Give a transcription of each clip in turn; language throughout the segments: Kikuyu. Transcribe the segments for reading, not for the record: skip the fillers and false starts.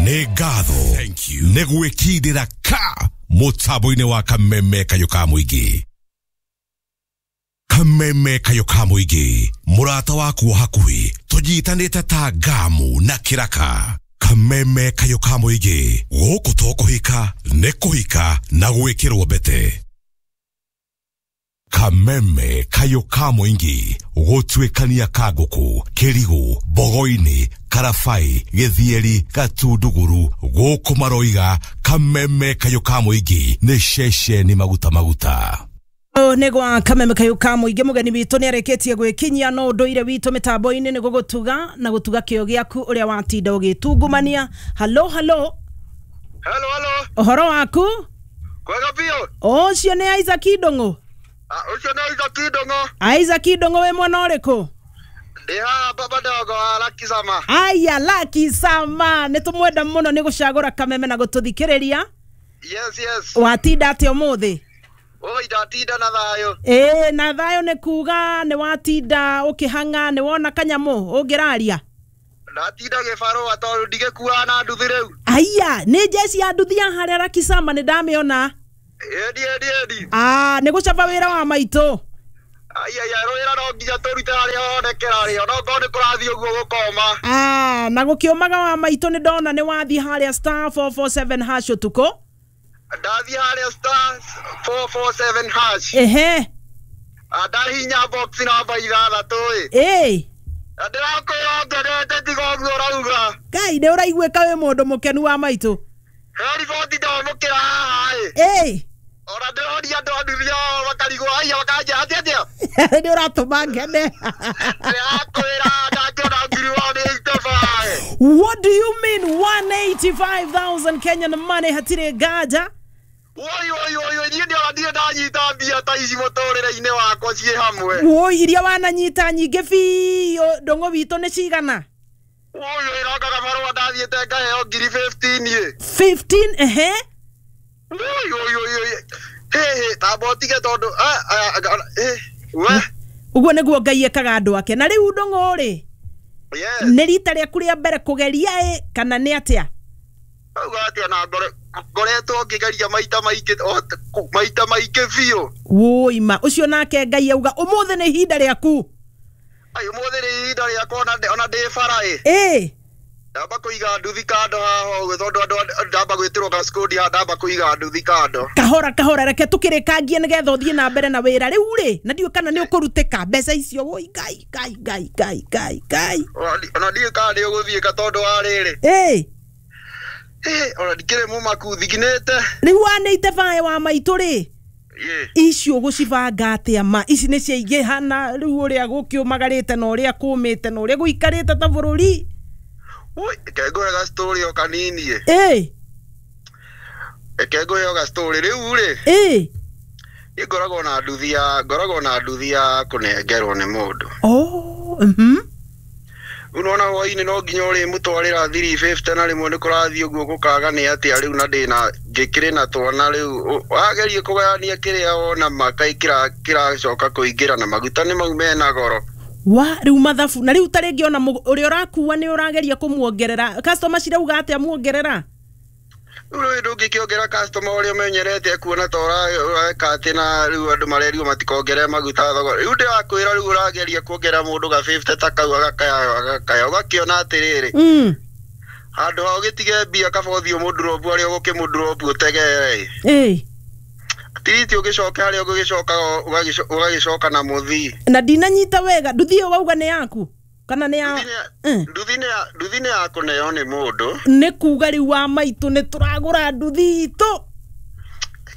Nĩ ngatho nĩ gwĩkindĩra ka mũtambo-inĩ wa Kameme Kayũ ka Mũingĩ. Kameme Kayũ ka Mũingĩ, mũrata waku wa hakuhĩ, tũnyitanĩte ta ngamu na kĩraka. Kameme Kayũ ka Mũingĩ, gũkũ to kũhika, nĩ kũhika na gwĩkĩrwo mbete. Kameme Kayũ ka Mũingĩ, gũtuĩkania Kangũkũ, Kĩrigũ, Bogoini, Karabai, Gĩthieri, Gatunduguru, gũkũ maroiga Kameme Kayũ ka Mũingĩ nĩ ceceni maguta maguta. Nĩ gwa Kameme Kayũ ka Mũingĩ. Mũgeni witũ nĩ arĩkĩtie gwĩkinyia, no ũndũire witũ mĩtambo-inĩ nĩ gũgũtuga na gũtuga kĩo gĩaku ũrĩa watinda ũgĩtungumania. Halo halo. Hello, hello. Ũhoro waku? Kwega biũ. Ũcio nĩ Isaac Ndũng'ũ? Ũcio nĩ Isaac Ndũng'ũ. Isaac Ndũng'ũ, wĩ mwena ũrĩkũ? Ndĩ haha baba ndogo wa Lucky Sama. Aya, Lucky Sama, nĩ tũmwenda mũno nĩ gũcagũra Kameme na gũtũthikĩrĩria. Yes, yes. Watinda atĩa ũmũthĩ? Oi, ndatinda na thayũ. Ĩĩ, na thayũ nĩ kuga nĩ watinda ũkĩhang'a, nĩ wona kanyamũ ũngĩraria? Ndatinda gĩbarũa tondũ ndigĩkuaga na nduthi rĩu. Aya, nĩ njeci ya nduthi ya harĩa Lucky Sama, nĩ ndamĩona. Ĩni, ĩni, ĩni. Ah, nĩ gũcaba wĩra wa maitũ. Ai, ai, ai, wĩra no nginya tũrute harĩa honekera rĩ, onokorwo nĩ kũrathiĩ ũguo gũkoma. Ah, na gũkĩũmaga wa maitũ, nĩ ndona nĩ wathiĩ harĩa star 447 hash ũtukũ. Ndathiĩ harĩa star 447 hash. Ehe. Ndahinya box namba 6 ĩ. Ĩĩ. Na ndĩrakwĩra ngenete tiga ũguo ũrauga. Ngai, nĩ ũraiguĩka wĩ mũndũ mũkenu wa maitũ. He riboti ndamũkĩra haha ĩ. Ĩĩ. Ona ndĩroria andũ a nduthi ao makarigwo, aya makanja atĩa atĩa. Nĩ ũratũma ngene. Ndĩrakwĩra ndangĩona ngiri wao nĩ 85. What do you mean 185,000 Kenyan money hatirĩ nganja? Woi woi woi woi, niĩ ndiona ndirĩ ndanyita mbia ta ici mũtũrĩre-inĩ wakwa ciĩ hamwe. Woi, iria wananyita nyingĩ biũ Ndũng'ũ witũ nĩ cigana? Woi woi, roka gabarũa ndathiĩte ngaheo ngiri 15 ĩ. 15, ehe. Woi woi woi woi. Hĩ hĩ, tamba ũtige tondũ we. Ũguo nĩguo Ngai ekaga andũ ake. Na rĩu Ndũng'ũ rĩ, Yes. nĩ rita rĩaku rĩa mbere kũgeria ĩ kana nĩ atĩa? Auga atĩa, na ngoretwo ngĩgeria maita maingĩ, maita maingĩ biũ. Woi ma, ũcio nake Ngai auga ũmũthĩ nĩ ihinda rĩaku. Ai, ũmũthĩ nĩ ihinda rĩakwa, ona ndĩ bara ĩ. Ĩ. Ndamba kũiga nduthi kando haha ũguo tondũ andũ ndamba gwĩtĩrwo gacikũndi haha, ndamba kũiga nduthi kando. Kahora kahora, reke tũkĩrĩkangie nĩgetha ũthiĩ na mbere na wĩra rĩu rĩ, na ndiũĩ kana nĩ ũkũrutĩka mbeca icio. Woi Ngai Ngai Ngai Ngai Ngai Ngai. Ona ndiũĩ kana nĩ ũgũthiĩka tondũ wa rĩrĩ. Ĩ. Ona ndikĩrĩ mũmaku thikinĩte. Rĩu wanĩite bae wa maitũ rĩ, icio ũgũcibanga atĩa ma? Ici nĩ ciaingĩha na rĩu ũrĩa gũkĩũmagarĩte na ũrĩa kũmĩte na ũrĩa gũikarĩte ta bũrũri. Woi, reke ngũhe ga story o kanini ĩ. Ĩ. Reke ngũhe o ga story rĩu rĩ. Ĩ. Niĩ ngoragwo na nduthi ya, ngoragwo na nduthi ya kũnengerwo nĩ mũndũ. Oh, mhm. Rĩu nĩwona hwainĩ no nginya ũrĩmũtwarĩra 350 na rĩmwe nĩ kũrathiĩ ũguo gũkaga nĩ atĩa rĩu, na ndĩna ngĩkĩrĩ na twana rĩu wagerie kũgayania kĩrĩa wona makai kĩracoka kũingĩra na maguta nĩ mau mena goro. Wa rĩu mathabu na rĩu ta rĩngĩ ona ũrĩa ũrakua nĩ ũrageria kũmuongerera customer cirauga atĩa muongerera? Rĩu ndũngĩkĩongerera customer ũrĩa ũmenyerete kuona ta ũreka atĩ, na rĩu andũ marerirwo matikongerere maguta thogora. Rĩu ndĩrakwĩra rĩu ũrageria kuongerera mũndũ ga 50 ta kau agakaya agakaya, ũgakĩona atĩrĩrĩ, handũ ha ũgĩtige mbia kaba ũthiĩ ũmũndurũbu harĩa ũgũkĩmũndurũbu ũtegere. Ĩ. Tiriti ũgĩcoke harĩa ũgĩgĩcoka ũgagĩcoka na mũthii. Na ndinanyita wega, nduthi ĩyo wauga nĩ yaku kana nĩ ya? Nduthi nĩ ya kũneo nĩ mũndũ. Nĩ kuga rĩu wa maitũ nĩ tũragũra nduthi itũ.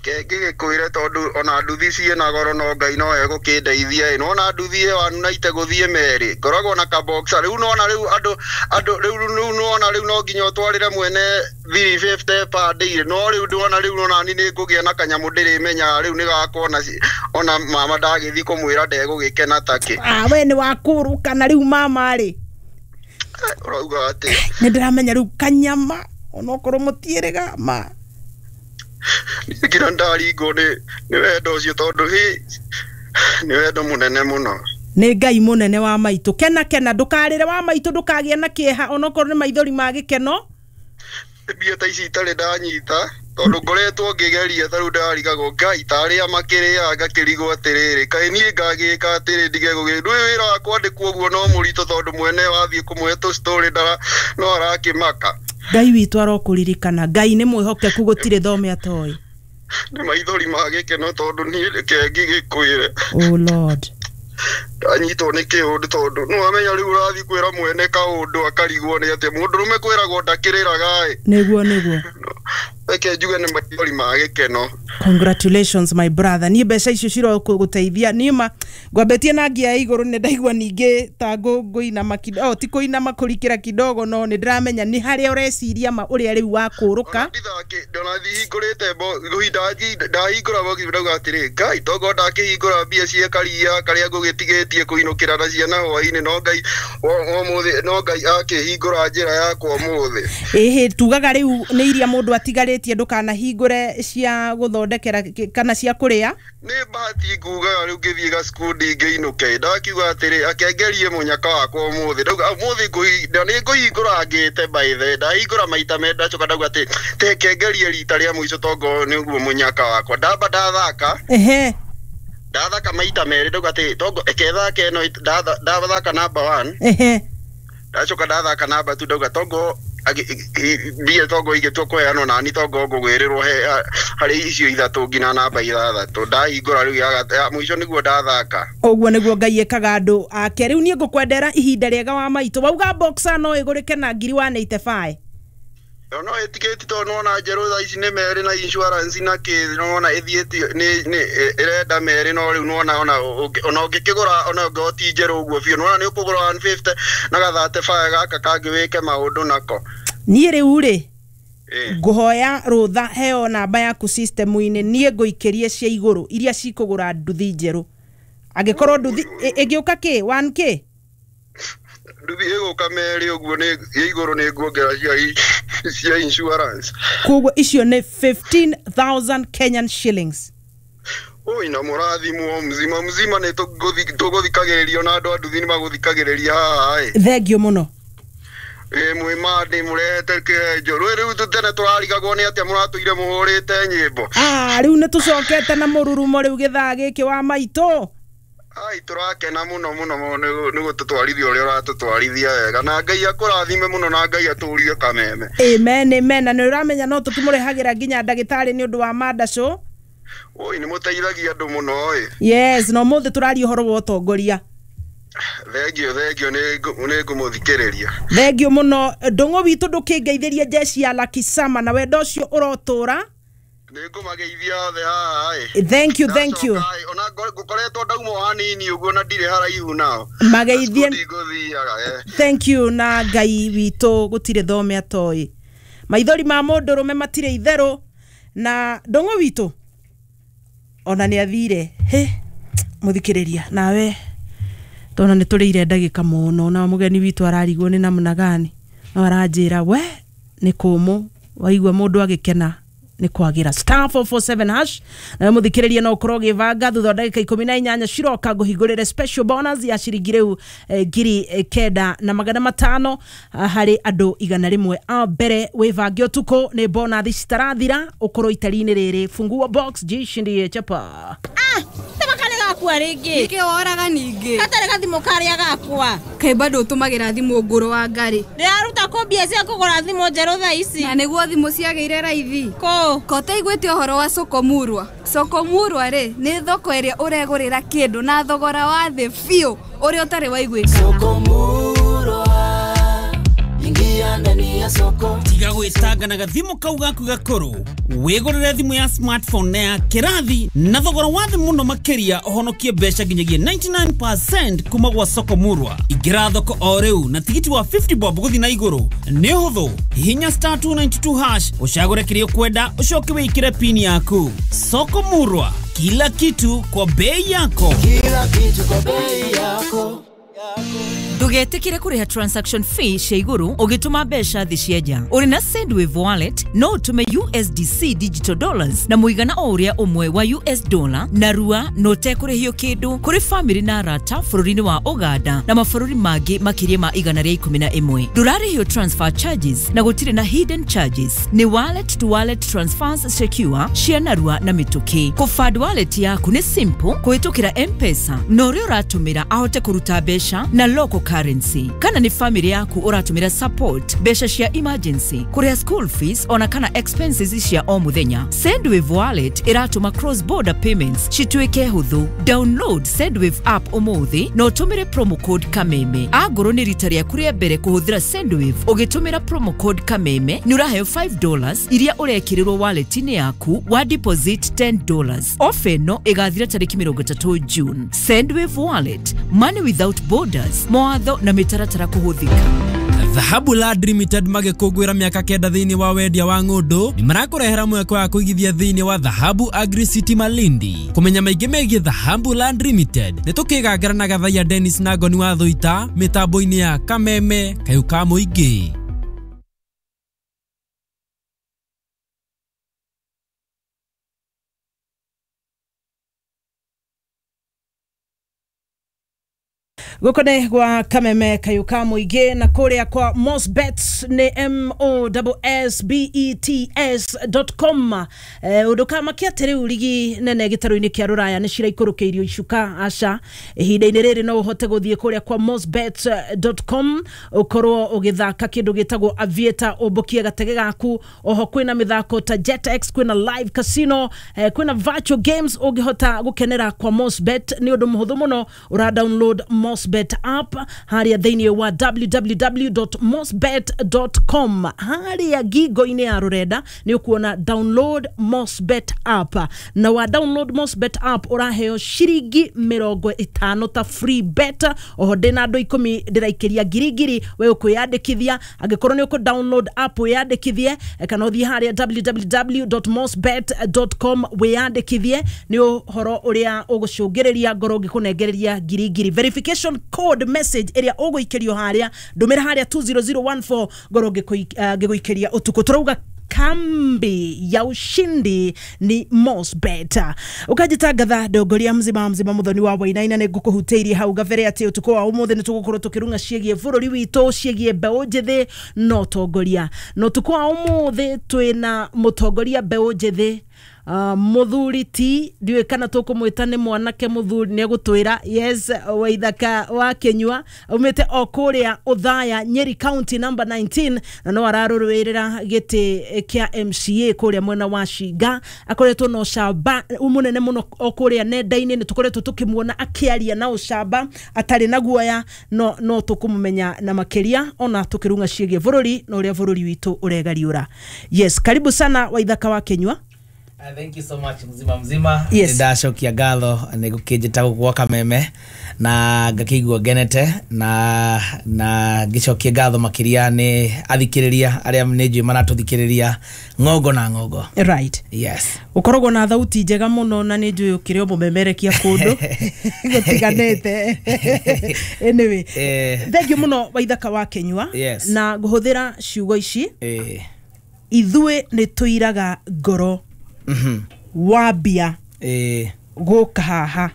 Reke ngĩgĩkwĩre tondũ ona nduthi ciĩna goro no Ngai no egũkĩndeithia ĩ. Nĩwona nduthi ĩyo anunaite gũthiĩ merĩ, ngoragwo na kaboxa rĩu, nĩwona rĩu andũ andũ rĩu rĩu nĩwona rĩu no nginya ũtwarĩre mwene 350 per day, no rĩu ndĩwona rĩu onani nĩ ngũgĩa na kanyamũ ndĩrĩmenyaga rĩu nĩ gakwa, ona mama ndagĩthiĩ kũmwĩra ndegũgĩkena takĩ. Ah, we nĩ wakũrũka na rĩu mama rĩ. Ũrauga atĩa? Nĩ ndĩramenya rĩu kanyama onokorwo mũtiĩrĩga ma. Nginya ndaringwo nĩ wendo ũcio tondũ hĩ nĩ wendo mũnene mũno. Nĩ Ngai mũnene wa maitũ, kena kena, ndũkarĩre wa maitũ, ndũkagĩe na kĩeha onokorwo nĩ maithori ma gĩkeno. Mbia ta ici itarĩ ndanyita tondũ ngoretwo ngĩgeria ta rĩu ndarigagwo Ngai ta arĩa makĩrĩaga ngakĩrigwo atĩrĩrĩ kaĩ niĩ ngagĩka atĩrĩ ndige gũgĩ ndũĩ wĩra wa kwandĩkwo ũguo no mũritũ tondũ mwene wathiĩ kũmũhe tũ story ndara no arakĩmaka. Ngai witũ arokũririkana. Ngai nĩ mwĩhokeku gũtirĩ thome atoĩ. Nĩ maithori ma gĩkeno tondũ niĩ reke ngĩgĩkwĩre. Oh Lord. Ndanyitwo nĩ kĩũndũ tondũ nĩwamenya rĩu ũrathiĩ kwĩra mwene kaũndũ akarigwo nĩ atĩa mũndũrũme kwĩragwo ndakĩrĩraga ĩ. Nĩguo nĩguo. Reke njuge nĩ maithori ma gĩkeno. Congratulations my brother. Niĩ mbeca icio cirokũgũteithia. Niĩ ma ngwambĩtie na ngia ya igũrũ nĩ ndaigua ningĩ ta ngũinama kidogo, ti kũinama kũrikĩra kidogo, no nĩ ndĩramenya nĩ harĩa ũreciria ma ũrĩa rĩu wakũrũka. Ona ndihingũrĩte ndahingũra box ndauga atĩrĩ Ngai tokorwo ndakĩhingũra mbia cia karia karĩa ngũgĩtigĩtie kũinũkĩra na ciana hwainĩ no Ngai ũmũthĩ no Ngai akĩhingũra njĩra yakwa ũmũthĩ. Ĩhĩ tugaga rĩu nĩ iria mũndũ atigarĩtie ndũkanahingũre cia gũthondekera kana cia kũrĩa. Nĩ bahati ngugaga rĩu ngĩthiĩ gacukundi ngĩinũke ndakiuga atĩrĩ akengerie mũnyaka wakwa ũmũthĩ ndauga ũmũthĩ nĩ ngũhingũra ngĩte by the ndahingũra maita merĩ ndacoka ndauga atĩ tekengerie rita rĩa mũico tongo nĩ ũguo mũnyaka wakwa ndamba ndathaka. Ehe. Ndathaka maita merĩ ndauga atĩ tongo ekethake ĩno ndathaka number 1. Ehe. Ndacoka ndathaka number 2 ndauga tongo mbia tongo igĩtua kũheanwo nani tongo ngũgwĩrĩrwo harĩ icio ithatũ nginya namba ithathatũ ndahingũra rĩu ya mũico nĩguo ndathaka. Ũguo nĩguo Ngai ĩkaga andũ ake. Rĩu niĩ ngũkwendera ihinda rĩega wa maitũ. Wauga boxer no ĩgũrĩke na ngiri 185. No ĩtigĩti tondũ nĩwona njerũ thaa ici nĩ merĩ na insurance na kĩ nĩwona ĩthiĩte nĩ ĩrenda merĩ no rĩu nĩwona ona ũngĩkĩgũra ona ũngĩkorwo ti njerũ ũguo biũ nĩwona nĩ ũkũgũra 150 na gathate baya gaka kangĩ wĩke maũndũ nako. Niĩ rĩu rĩ ngũhoya rũtha heo namba yaku system-inĩ niĩ ngũikĩrie cia igũrũ iria cikũgũra nduthi njerũ. Angĩkorwo nduthi ĩngĩũka kĩ 1k nduthi ĩgũka merĩ ũguo nĩ igũrũ nĩ nguongerera cia insurance. Koguo icio nĩ 15,000 Kenyan shillings. Oi na mũrathimwo mzima mzima nĩ tũgũthikagĩrĩrio na andũ a nduthi nĩ magũthikagĩrĩria haha ĩ. Thengiũ mũno. Ĩ mwĩ mandĩ mũrehete kĩhenjo rĩu tene tũrarigagwo nĩ atĩa mũratũire mũhũrĩte nyĩmbo. Rĩu nĩ tũcokete na mũrurumo rĩu gĩthaa gĩkĩ wa maitũ. Ai tũrakena mũno mũno nĩ gũtũtwarithia ũrĩa ũratũtwarithia wega na Ngai akũrathime mũno na Ngai atũrie kameme. Amen amen. Na nĩ ũramenya no tũkĩmũrehagĩra nginya ndagĩtarĩ nĩ ũndũ wa mandacũ. Oi nĩ mũteithagia andũ mũno ĩ. Yes, no mũthĩ tũraria ũhoro wa ũtongoria. Thengio thengio nĩ ngũmũthikĩrĩria. Thengio mũno ndũng'ũ witũ ndũkĩngeithĩrie jeshi ya Lucky Summer na wendo ũcio ũrotũra. Nĩ ngũmageithia othe haha ĩ. Thank you thank you. Ona ngũkoretwo ndauma hanini ũguo na ndirĩ haraihu nao. Mageithie. Thank you na Ngai witũ gũtirĩ thome atoĩ. Maithori ma mũndũrũme matirĩ itherũ na ndũng'ũ witũ ona nĩ athire. He mũthikĩrĩria nawe tona nĩ tũrĩire ndagĩka mũno na mũgeni witũ ararigwo nĩ namna gani no aranjĩra we nĩ kũmũ waigua mũndũ agĩkena nĩ kwagĩra. Star 447 hash nawe mũthikĩrĩria no ũkorwo ũgĩbanga thutha wa ndagĩka 18 ciroka ngũhingũrĩre special bonus ya ciringi rĩu 9,500 harĩ andũ 100 a mbere. Wĩbange ũtukũ nĩ bonus citarathira ũkorwo itari-inĩ rĩrĩ. Fungua box jishindie chapa. Gakwa rĩngĩ nĩkĩ woraga ningĩ gatarĩ gathimũ karĩa gakwa kaĩ bado ũtũmagĩra thimũ ngũrũ wa ngari ndĩraruta kũ mbia cia kũgũra thimũ njerũ thaa ici na nĩguo thimũ ciagĩire raithi kũ kotaiguĩte ũhoro wa Sokomurwa. Sokomurwa rĩ nĩ thoko ĩrĩa ũregũrĩra kĩndũ na thogora wa thĩ biũ ũrĩa ũtarĩ waiguĩkana. Sokomurwa ingia ndani ya soko tiga gwĩtanga na gathimũ kau gaku gakũrũ wĩgũrĩre thimũ ya smartphone na ya kĩrathi na thogora wa thĩ mũno makĩria ũhonokie mbeca nginyagia 99% kuma gwa Sokomurwa. Ingĩra thoko o rĩu na tigiti wa 50 bob gũthiĩ na igũrũ nĩ ũhũthũ. Hihinya star 292 hash ũcagũre kĩrĩa ũkwenda ũcoke wĩkĩre pin yaku. Sokomurwa, kila kitu kwa bei yako. Kila kitu kwa bei yako. Ndũgetĩkĩre kũrĩha transaction fee cia igũrũ ũgĩtũma mbeca thĩ cia nja. Ũrĩ na Sendwave wallet no ũtũme USDC digital dollars na mũigana o ũrĩa ũmwe wa US dollar na rua na ũtekũrĩhio kĩndũ kũrĩ famĩlĩ na arata bũrũri-inĩ wa Uganda na mabũrũri mangĩ makĩria ma 111. Ndũrarĩhio transfer charges na gũtirĩ na hidden charges. Nĩ wallet to wallet transfers secure cia narua na mĩtũkĩ. Kũfund wallet yaku nĩ simple kũhĩtũkĩra M-Pesa na ũrĩa ũratũmĩra ahote kũruta mbeca na local currency. Kana nĩ family yaku ũratũmĩra support mbeca cia emergency, kũrĩha school fees ona kana expenses cia o mũthenya. Sendwave wallet ĩratũma cross border payments cituĩke hũthũ. Download Sendwave app ũmũthĩ na ũtũmĩre promo code Kameme. Angorwo nĩ rita rĩaku rĩa mbere kũhũthĩra Sendwave ũgĩtũmĩra promo code Kameme nĩ ũraheo $5 iria ũrekĩrĩrwo wallet-inĩ yaku wa deposit $10. Ofa ĩno ĩgathira tarĩki 30 June. Sendwave wallet, money without borders. Mawatho na mĩtaratara kũhũthĩka. Dhahabu Land Limited magĩkũngũĩra mĩaka 9 thĩinĩ wa wendia wa ng'ũndũ nĩ marakũrehera mweke wa kũigithia thĩinĩ wa Dhahabu Agri City Malindi. Kũmenya maingĩ megiĩ Dhahabu Land Limited nĩ tũkĩgangara na Gathaiya Dennis na Ngoni wa Thũita mĩtambo-inĩ ya Kameme Kayũ ka Mũingĩ. Gũkũ nĩ gwa Kameme Kayũ ka Mũingĩ na kũrĩa kwa Mosbets nĩ mossbets.com. Ũndũ kamakia atĩ rĩu rigi nene gĩtarũ-inĩ kĩa rũraya nĩ ciraikũrũkĩirio icuka aca. Ihinda-inĩ rĩrĩ no ũhote gũthiĩ kũrĩa kwa mosbets.com ũkorwo ũgĩthaka kĩndũ gĩtagwo Aviator ũmbũkie gatege gaku. Oho kwĩna mĩthako ta JetX, kwĩna live casino, kwĩna virtual games ũngĩhota gũkenera kwa Mosbet. Nĩ ũndũ mũhũthũ mũno, ũra download Mosbet app harĩa thĩinĩ wa www.mosbet.com. Harĩa ngingo-inĩ ya rũrenda nĩ ũkuona download Mosbet app, na wa download Mosbet app ũraheo ciringi 50 ta free bet. Oho ndĩna andũ 10 ndĩraikĩria ngiri we ũkwĩyandĩkithia. Angĩkorwo nĩ ũkũ download app wĩyandĩkithie, kana ũthiĩ harĩa www.mosbet.com wĩyandĩkithie. Nĩ ũhoro ũrĩa ũgũcũngĩrĩria ngoro ngĩkũnengereria ngiri. Verification code message ĩrĩa ũgũikĩrio harĩa ndũmĩra harĩa 20014 ngoro ngĩgũikĩria ũtukũ. Tũrauga kambi ya ushindi ni Mosbet. Ũkanjĩtangatha ndongoria mzima mzima muthoni wa Wainaina nĩ ngũkũhutĩirie hau gabere atĩ ũtukũ wa ũmũthĩ nĩ tũgũkorwo tũkĩrung'a ciĩgiĩ bũrũri witũ, ciĩgiĩ mbeũ njĩthĩ na ũtongoria. Na ũtukũ wa ũmũthĩ twĩna mũtongoria mbeũ njĩthĩ, mũthuri ti ndiũĩ kana tũkũmwĩta nĩ mwanake mũthuri, nĩ egũtwĩra. Yes, Waithaka wa Kĩnyua aumĩte o kũrĩa Othaya, Nyeri County number 19, na no ararũĩrĩra gĩtĩ kĩa MCA kũrĩa mwena wa Shinga. Akoretwo na ũcamba mũnene mũno o kũrĩa nenda-inĩ, nĩ tũkoretwo tũkĩmuona akĩaria na ũcamba atarĩ na guoya, no tũkũmũmenya na makĩria ona tũkĩrung'a ciĩgiĩ bũrũri na ũrĩa bũrũri witũ ũregariũra. Yes, karibu sana Waithaka wa Kĩnyua. Thank you so much mzima mzima. Yes. Ndacokia ngatho nĩ gũkĩnjĩta gwa Kameme na ngakĩigua ngenete na ngĩcokia ngatho makĩria nĩ athikĩrĩria arĩa nĩ njũĩ maratũthikĩrĩria ng'ongo na ng'ongo. Right. Yes. Ũkoragwo na thauti njega mũno na nĩ njũĩ ũkĩrĩ o mũmemerekia kũndũ gũtiganĩte. Anyway, thank you mũno Waithaka wa Kĩnyua. Yes. Na ngũhũthĩra ciugo ici. Ithuĩ nĩ tũiraga ngoro wambia gũka haha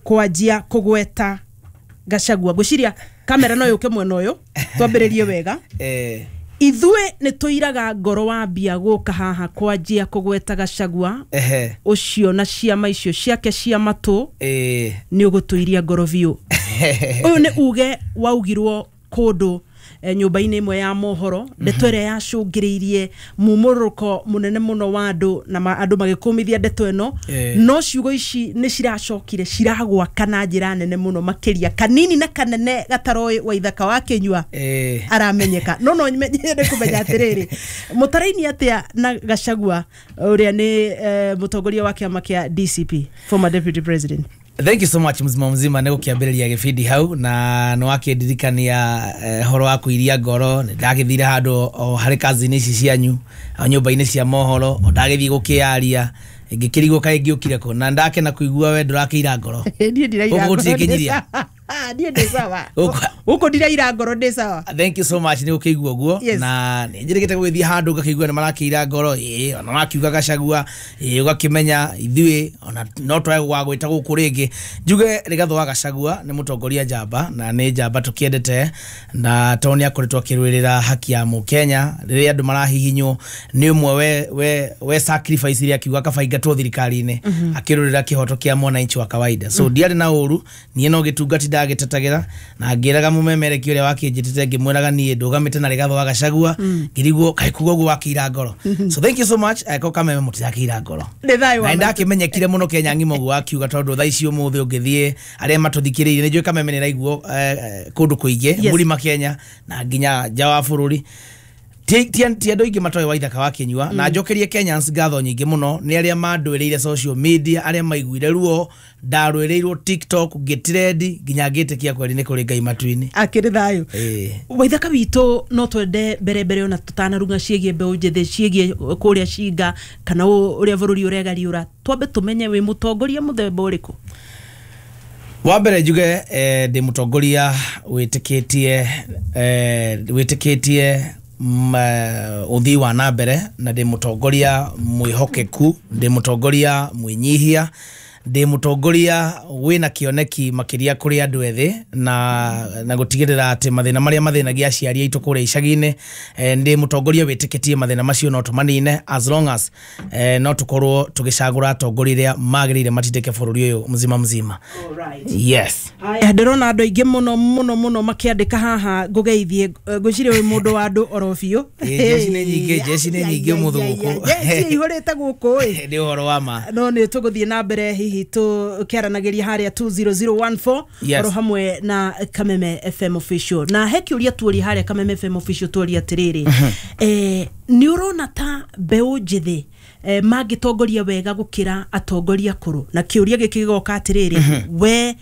kwanjia kũgweta Gachagua. Ngwĩciria kamera no yũke mwena ũyũ twambĩrĩrie wega. Ithuĩ nĩ tũiraga ngoro wambia gũka haha kwanjia kũgweta Gachagua ũcio na ciama icio ciake cia matũ, nĩ ũgũtũiria ngoro biũ. Ũyũ nĩ uge waugirwo kũndũ nyũmba-inĩ ĩmwe ya mohoro, ndeto ĩrĩa yacũngĩrĩirie mumũrũko mũnene mũno wa andũ na andũ magĩkũmithia ndeto ĩno. No ciugo ici nĩ ciracokire ciragwaka na njĩra nene mũno makĩria. Kanini na kanene gataroĩ Waithaka wa Kĩnyua aramenyeka. No nyende kũmenya atĩrĩrĩ, mũtaraini atĩa na Gachagua ũrĩa nĩ mũtongoria wa kĩama kĩa DCP, former deputy president? Thank you so much mzima mzima nĩ gũkĩambĩrĩria gĩbindi hau na nĩ wakĩndirikania horo wa kũiria ngoro. Nĩ ndagĩthire handũ o harĩ kazi-inĩ ici cianyu o nyũmba-inĩ cia mohoro, o ndagĩthiĩ gũkĩaria ngĩkĩrigwo kaĩ ngĩũkire kũ, na ndakena kũigua we ndũrakĩira ngoro. Niĩ ndiraira Gũkũ gũtirĩ ngoro. kĩnyiria. Niĩ ndĩ sawa. Gũkũ ndiraira ngoro, ndĩ sawa. Thank you so much, nĩ ũkĩigua ũguo. Na nĩ njĩrĩgĩte gũgĩthiĩ handũ ngakĩigua nĩ marakĩira ngoro, ĩĩ, ona makiuga Gachagua, ĩĩ, ũgakĩmenya ithuĩ ona no twage gũgagwĩta gũkũ rĩngĩ. Njuge Rigathĩ wa Gachagua nĩ mũtongoria njamba, na nĩ njamba tũkĩendete, na tondũ nĩ akoretwo akĩrũĩrĩra haki ya mũkenya rĩrĩa andũ marahihinywo, nĩ ũmwe we sacrifice iria akiuga kaba ingatwo thirikari-inĩ, akĩrũĩrĩra kĩhoto kĩa mwananchi wa kawaida. So ndiarĩ na ũru, niĩ no gĩtungati ndagĩtetagĩra, na ngĩraga mũmemereki ũrĩa wakĩnjĩtĩte, ngĩmwĩraga niĩ ndũgamĩte na Rigathĩ wa Gachagua, ngĩrigwo kaĩ kuga ũguo wakĩira ngoro. So thank you so much, ko Kameme mũtirakĩira ngoro. Nĩ thayũ wa Na ndakĩmenyekire mũno Kenya ng'ima ũguo wakiuga, tondũ thaa ici ũmũthĩ ũngĩthiĩ arĩa matũthikĩrĩirie, nĩ njũĩ Kameme nĩ ĩraiguo kũndũ kũingĩ, mũrima Kenya na nginya nja wa bũrũri. Ti andũ aingĩ matoĩ Waithaka wa Kĩnyua, na njokerie Kenyans ngatho nyingĩ mũno nĩ arĩa mandũĩrĩire social media, arĩa maiguire ruo, ndarũĩrĩirwo TikTok, ngĩtrendi nginya ngĩtĩkia kweri nĩ kũrĩ Ngai matu-inĩ. Akĩrĩ thayũ. Waithaka witũ, no twende mbere mbere ona tũtanarunga ciĩgiĩ mbeũ njĩthĩ, ciĩgiĩ kũrĩa cinga kana ũrĩa bũrũri ũregariũra, twambe tũmenye wĩ mũtongoria mũthemba ũrĩkũ? Wa mbere njuge ndĩ mũtongoria wĩtĩkĩtie wĩtĩkĩtie ũthii wa na mbere, na ndĩ mũtongoria mwĩhokeku, ndĩ mũtongoria mwĩnyihia, ndĩ mũtongoria wĩna kĩoneki makĩria kũrĩ andũ ethĩ, na gũtigĩrĩra atĩ mathĩna marĩa mathĩnagia aciari aitũ kũrĩa icagi-inĩ, ndĩ mũtongoria wĩtĩkĩtie mathĩna macio no tũmanine as long as no tũkorwo tũgĩcagũra atongoria arĩa magĩrĩire matindĩke bũrũri ũyũ mzima mzima. Yes. Haya, ndĩrona andũ aingĩ mũno mũno mũno makĩandĩka haha ngũgeithie, ngwĩciria wĩ mũndũ wa andũ oro biũ. Jeshi nĩ nyingĩ, jeshi nĩ nyingĩ ũmũthĩ gũkũ. Jeshi ihũrĩte gũkũ ĩ. Nĩ ũhoro wa ma. No nĩ tũgũthiĩ na mbere hihi tũkĩaranagĩria harĩa 20014 oro hamwe na Kameme FM Official. Na he kĩũria tuoria harĩa Kameme FM Official, tuoria atĩrĩrĩ, nĩ ũrona ta mbeũ njĩthĩ mangĩtongoria wega gũkĩra atongoria akũrũ? Na kĩũria gĩkĩ gĩgoka atĩrĩrĩ, we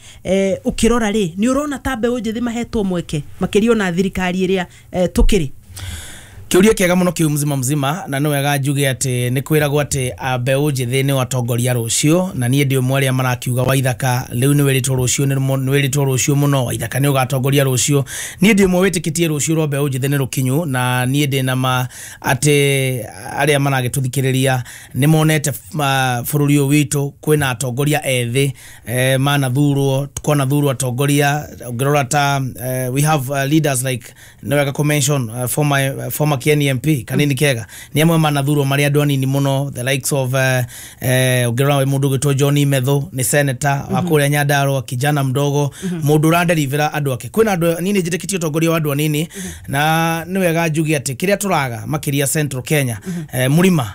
ũkĩrora rĩ, nĩ ũrona ta mbeũ njĩthĩ mahetwo mweke makĩria ona thirikari ĩrĩa tũkĩrĩ? Kĩũria kĩega mũno kĩu mzima mzima, na nĩ wega njuge atĩ nĩ kwĩragwo atĩ mbeũ njĩthĩ nĩ atongoria rũciũ, na niĩ ndĩ ũmwe arĩa marakiuga Waithaka rĩu nĩ wĩrĩtwo rũciũ, nĩ wĩrĩtwo rũciũ mũno, Waithaka nĩ ũgatongoria rũciũ. Niĩ ndĩ ũmwe wĩtĩkĩtie rũciũ rwa mbeũ njĩthĩ nĩ rũkinyu, na niĩ ndĩ na ma atĩ arĩa maragĩtũthikĩrĩria nĩ monete bũrũri ũyũ witũ kwĩna atongoria ethĩ, manathurwo, kwanathurwo atongoria ũngĩrora ta we have leaders like, nĩ wega kũ mention former Kieni MP Kanini Kega, nĩ amwe manathurwo marĩ andũ anini mũno, the likes of ũngĩrora mũndũ ũgwĩtwo John Methu nĩ senator wa kũrĩa Nyandarua, kijana mdogo, mũndũ ũranderivĩra andũ ake. Kwĩna andũ anini, njĩtĩkĩtie ũtongoria wa andũ anini, na nĩ wega njuge atĩ kĩrĩa tũraga makĩria Central Kenya, mũrima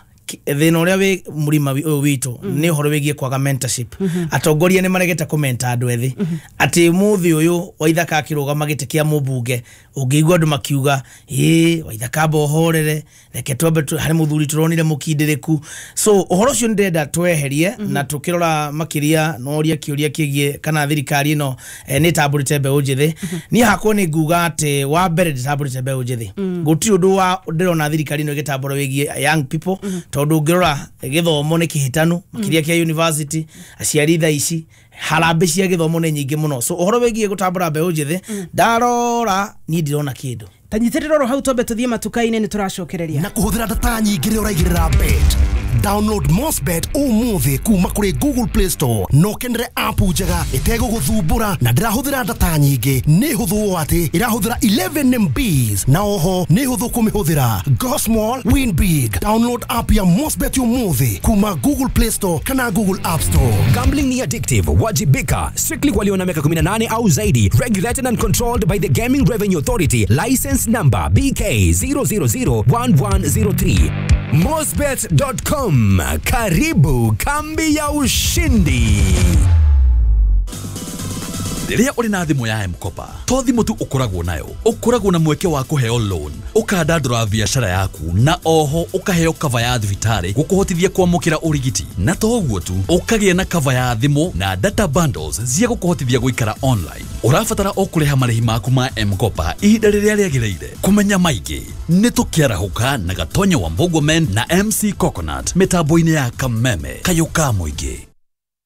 thĩna ũrĩa wĩ mũrima ũyũ witũ nĩ ũhoro wĩgiĩ kwaga mentorship. Atongoria nĩ maregete kũmenta andũ ethĩ, atĩ mũthĩ ũyũ Waithaka akĩrũgama gĩtĩ kĩa mũmbunge, ũngĩigua andũ makiuga ĩ Waithaka amba ũhorere, reke twambe harĩ mũthuri tũronire mũkindĩrĩku. So ũhoro ũcio nĩ ndĩrenda tweherie, na tũkĩrora makĩria no ũrie kĩũria kĩgiĩ kana thirikari ĩno nĩ ĩtambũrĩte mbeũ njĩthĩ. Niĩ hakwa nĩ nguga atĩ wa mbere ndĩtambũrĩte mbeũ njĩthĩ, gũtirĩ ũndũ wa ndĩrona thirikari ĩno ĩgĩtambũra wĩgiĩ young people, tondũ ũngĩrora gĩthomo nĩ kĩhĩtanu makĩria kĩa university, aciari thaa ici harambĩ cia gĩthomo nĩ nyingĩ mũno. So ũhoro wĩgiĩ gũtambũra mbeũ njĩthĩ, ndarora niĩ ndirona kĩndũ. Ta nyitĩrĩra oro hau twambe tũthiĩ matuka-inĩ, nĩ tũracokereria. Na kũhũthĩra data nyingĩ rĩrĩa ũraigĩrĩra bet. Download Mosbet ũmũthĩ kuma kũrĩ Google Play Store na ũkenere app njega ĩtegũgũthumbũra na ndĩrahũthĩra data nyingĩ. Nĩ hũthũ ũũ atĩ ĩrahũthĩra 11 MBs na oho nĩ hũthũ kũmĩhũthĩra. Go small, win big. Download app ya Mosbet ũmũthĩ kuma Google Play Store kana Google App Store. Gambling ni addictive. Wajibika. Strictly walio na miaka 18 au zaidi. Regulated and controlled by the Gaming Revenue Authority. License number BK 0001103. Mosbet.com. Karibu kambi ya ushindi. Rĩrĩa ũrĩ na thimũ ya M-Kopa, to thimũ tu ũkoragwo nayo, ũkoragwo na mweke wa kũheo loan, ũkandandũra biacara yaku, na oho ũkaheo cover ya thibitarĩ gũkũhotithia kwamũkĩra ũrigiti. Na to ũguo tu, ũkagĩa na cover ya thimũ na data bundles cia gũkũhotithia gũikara online. Ũrabatara o kũrĩha marĩhi maku ma M-Kopa ihinda rĩrĩa rĩagĩrĩire. Kũmenya maingĩ nĩ tũkĩarahũka na Gatonya wa Mbogo Men na MC Coconut mĩtambo-inĩ ya Kameme Kayũ ka mũingĩ.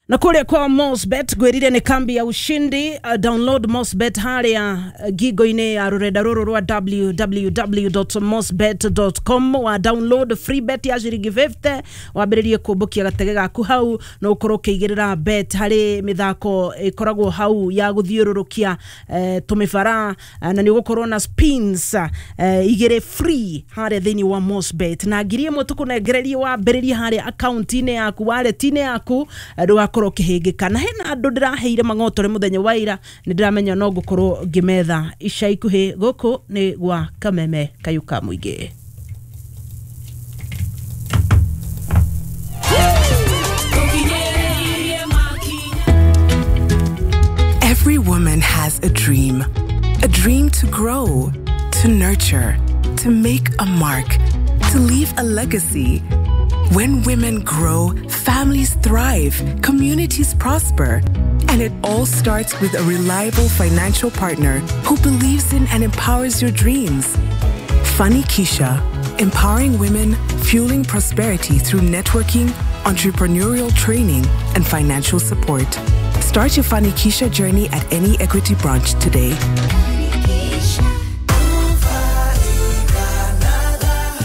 Na kũrĩa kwa Mosbet ngwĩrire nĩ kambi ya ushindi. Download Mosbet harĩa ngingo-inĩ ya rũrenda rũrũ rwa www.mosbet.com. Wa download free bet ya ciringi 50 wambĩrĩrie kũmbũkia gatege gaku hau, na ũkorwo ũkĩigĩrĩra bet harĩ mĩthako ĩkoragwo hau ya gũthiũrũrũkia tũmĩbara, na nĩ ũgũkorwo na spins igĩrĩ free harĩa thĩinĩ wa Mosbet, na 1000 tũkũnengererie wambĩrĩrie harĩa akaunti-inĩ yaku, wallet-inĩ yaku, ndũgakorwo ũkĩhĩngĩka. Na hena andũ ndĩraheire mang'otore mũthenya wa ira, nĩ ndĩramenya no ngũkorwo ngĩmetha ica ikuhĩ. Gũkũ nĩ gwa Kameme Kayuka Mũingĩ. Every woman has a dream. A dream to grow, to nurture, to make a mark, to leave a legacy. When women grow, families thrive, communities prosper. And it all starts with a reliable financial partner who believes in and empowers your dreams. Fanikisha, empowering women, fueling prosperity through networking, entrepreneurial training, and financial support. Start your Fanikisha journey at any Equity branch today.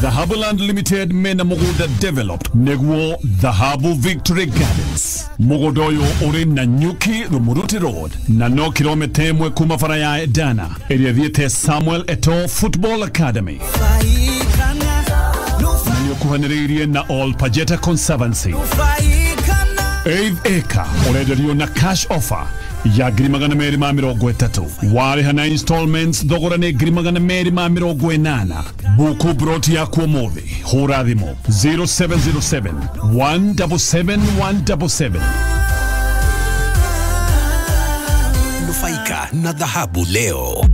Dhahabu Land Limited mena mugunda developed neguo Dhahabu Victory Gardens. Mugunda uyu uri na Nyuki Rumuruti Road na no kilomita 1 kuma bara ya Edana ĩrĩa ĩthiĩte Samuel Eto'o Football Academy. Na nĩũkuhanĩrĩirie na All Pajeta Conservancy. 8 acre ũrenderio na cash offer ya 230,000. Warĩha na installments thogora nĩ 280,000. Buku broti yaku ũmũthĩ, hũra thimũ 0707 177 177. Nufaika na dhahabu leo.